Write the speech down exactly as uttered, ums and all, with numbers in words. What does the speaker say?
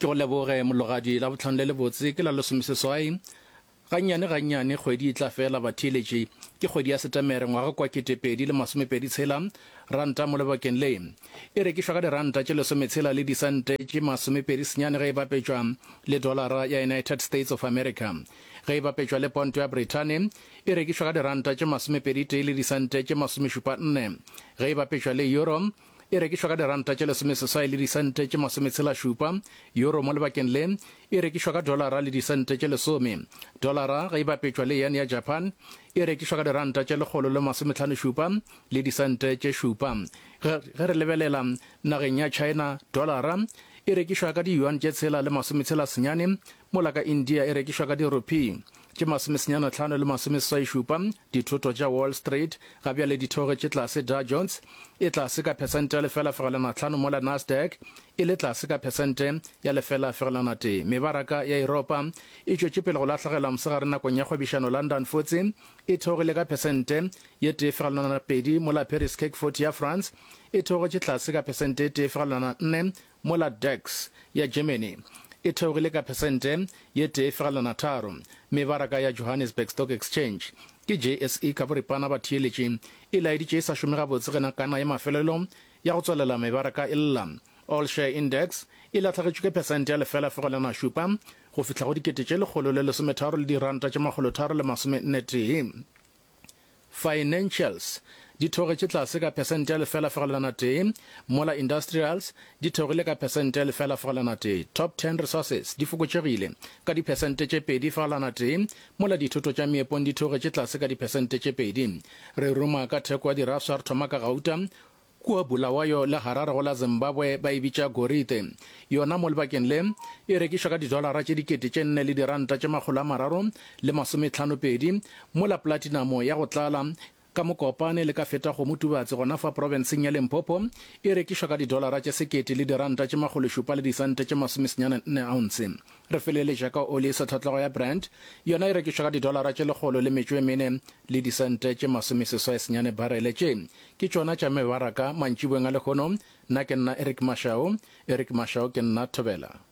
Ke go leboge Mologadi, Labohlano le lebotse ke la lesomeseswai. Gannyane gannyane kgwedi e tla fela batheeletši. Ke kgwedi ya Setemere ngwaga kwa kete pedi le masomepedi tshela. Ranta mo lebakeng le e rekišwa ka diranta tše lesometshela le disente tše masomepedi senyane ge e bapetšwa le dolara ya United States of America. Ge e bapetšwa le ponto ya Brithani e rekišwa ka diranta tše masomepedi tee le disente tše masomešupa nne. Ge e bapetšwa le euro e rekišwa ka diranta tše lesomeseswai le disente tše masometshela šupa. Euro mo lebakeng le e rekišwa ka dolara le disente tše lesome. Dolara ge e bapetšwa le yen ya Japan e rekišwa ka diranta tše lekgolo le masometlhano šupa le disente tše šupa. Ge ge re lebelela nageng ya China, dolara e rekišwa ka di-yuan tše tshela le masometshela senyane, mola ka India e rekišwa ka di-rupee tše masomesenyane hlano le masomeseswai šupa. Dithoto tša Wall Street ga bjale di theogetše tlase, Dow Jones e tlase ka phesente ya lefela fegelwana hlano mola Nasdaq e le tlase ka phesente ya lefela fegelwana tee. Mebaraka ya Yuropa e tšwetše pele go lahlegelwa mosegare nakong ya kgwebišano, London F T S E e theogile ka phesente ye tee fegelwana pedi mola Paris C A C forty ya France e theogetše tlase ka phesente e tee fegelwana nne mola DAX ya Germany e theogile ka phesente ye tee fegelwana tharo. Mebaraka ya Johannesburg Stock Exchange ke J S E ka boripana batheeletši e laeditše e sa šome gabotse ge nakana ya mafelelo ya go tswalela mebaraka e lla. All Share Index e lahlegetšwe ke phesente ya lefela fegelwana šupa go fihla go dikete tše lekgolo le lesometharo le diranta tše makgolo tharo le masome nne tee. Financials di theogetše tlase ka phesente ya lefela fegelwana tee mola industrials di theogile ka phesente ya lefela fegelwana tee. Top ten Resources di fokotšegile ka diphesente tše pedi fegelwana tee mola dithoto tša meepong di theogetše tlase ka diphesente tše pedi. Re ruma ka theko ya dirafša, re thoma ka gauta. Kua Bulawayo le Harare go la Zimbabwe ba e bitša gorite. Yona mo lebakeng le e rekišwa ka didolara tše dikete tše nne le diranta tše makgolo a mararo le masometlhano pedi, mola platinamo ya go tlala ka Mokopane le ka feta kgomo Tubatse gona fa profenseng ya Limpopo e rekišwa ka didolara tše sekete le diranta tše makgolo šupa le disente tše masomesenyane nne ounce. Re feleletša ka oli e sehlotlego ya Brent, yona e rekišwa ka didolara tše lekgolo le metšo e mene le disente tše masomeseswai senyane barele. Tše ke tšona tša mebaraka mantšiboeng a lehono. Nna ke nna Eric Mashau. Eric Mashau ke nna, thobela.